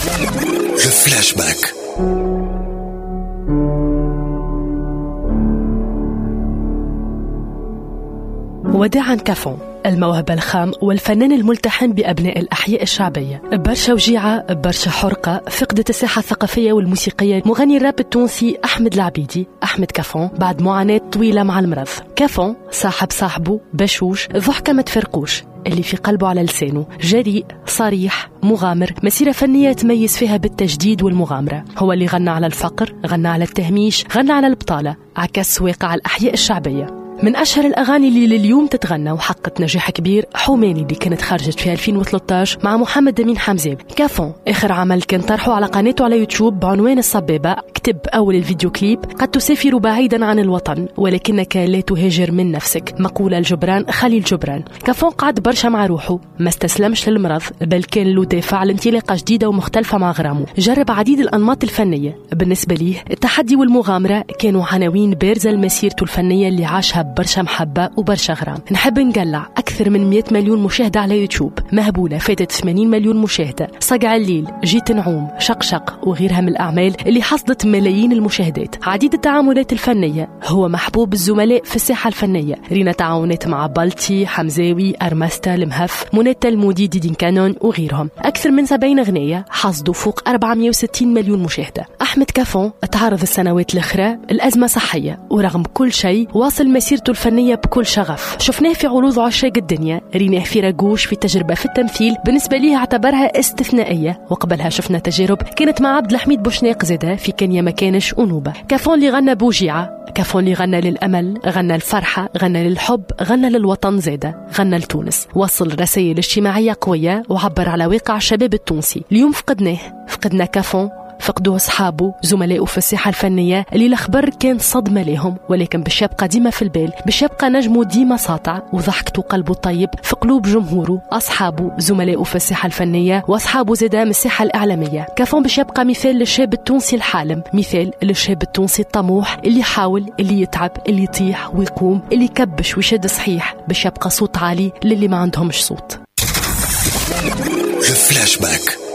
Le flashback. وداعا كافون، الموهبة الخام والفنان الملتحم بأبناء الأحياء الشعبية. برشا وجيعة، برشا حرقة، فقدت الساحة الثقافية والموسيقية مغني الراب التونسي أحمد العبيدي، أحمد كافون، بعد معاناة طويلة مع المرض. كافون صاحب صاحبه، بشوش، ضحكة ما تفرقوش، اللي في قلبه على لسانه، جريء، صريح، مغامر، مسيرة فنية تميز فيها بالتجديد والمغامرة. هو اللي غنى على الفقر، غنى على التهميش، غنى على البطالة، عكس واقع الأحياء الشعبية. من أشهر الأغاني اللي لليوم تتغنى وحققت نجاح كبير حوماني اللي كانت خرجت في 2013 مع محمد أمين حمزاوي. كافون آخر عمل كان طرحه على قناته على يوتيوب بعنوان الصبابة، كتب أول الفيديو كليب: قد تسافر بعيدا عن الوطن ولكنك لا تهاجر من نفسك، مقولة لجبران خليل جبران. كافون قعد برشا مع روحه، ما استسلمش للمرض، بل كان له دافع لانطلاقة جديدة ومختلفة مع غرامه. جرب عديد الأنماط الفنية، بالنسبة ليه التحدي والمغامرة كانوا عناوين بارزة لمسيرته الفنية اللي عاشها برشا محبة وبرشا غرام. نحب نقلع أكثر من 100 مليون مشاهدة على يوتيوب، مهبولة فاتت 80 مليون مشاهدة، صقع الليل، جيت نعوم، شقشق وغيرها من الأعمال اللي حصدت ملايين المشاهدات. عديد التعاملات الفنية، هو محبوب الزملاء في الساحة الفنية، رينا تعاونات مع بلطي، حمزاوي، أرمستا، المهف، منى المودي، ديدين كانون وغيرهم. أكثر من 70 أغنية حصدوا فوق 460 مليون مشاهدة. أحمد كافون تعرض السنوات الأخرى الأزمة صحية، ورغم كل شيء واصل مسيرته الفنية بكل شغف. شفناه في عروض عشاق الدنيا، ريناه في راجوش في تجربة في التمثيل بالنسبة ليه اعتبرها استثنائية، وقبلها شفنا تجارب كانت مع عبد الحميد بوشناق زاده في كان ما كانش أنوبة. كافون اللي غنى بوجيعة، كافون اللي غنى للأمل، غنى الفرحة، غنى للحب، غنى للوطن زاده، غنى لتونس. وصل رسائل اجتماعية قوية وعبر على واقع الشباب التونسي. اليوم فقدناه، فقدنا كافون، فقدوه أصحابه، زملائه في الساحة الفنية اللي الأخبار كان صدمة لهم، ولكن باش يبقى ديما في البال، باش يبقى نجمه ديما ساطع وضحكته قلبه الطيب في قلوب جمهوره، أصحابه، زملائه في الساحة الفنية وأصحابه زادا من الساحة الإعلامية. كافون باش يبقى مثال للشاب التونسي الحالم، مثال للشاب التونسي الطموح اللي يحاول، اللي يتعب، اللي يطيح ويقوم، اللي يكبش ويشد صحيح، باش يبقى صوت عالي للي ما عندهمش صوت. Le flashback.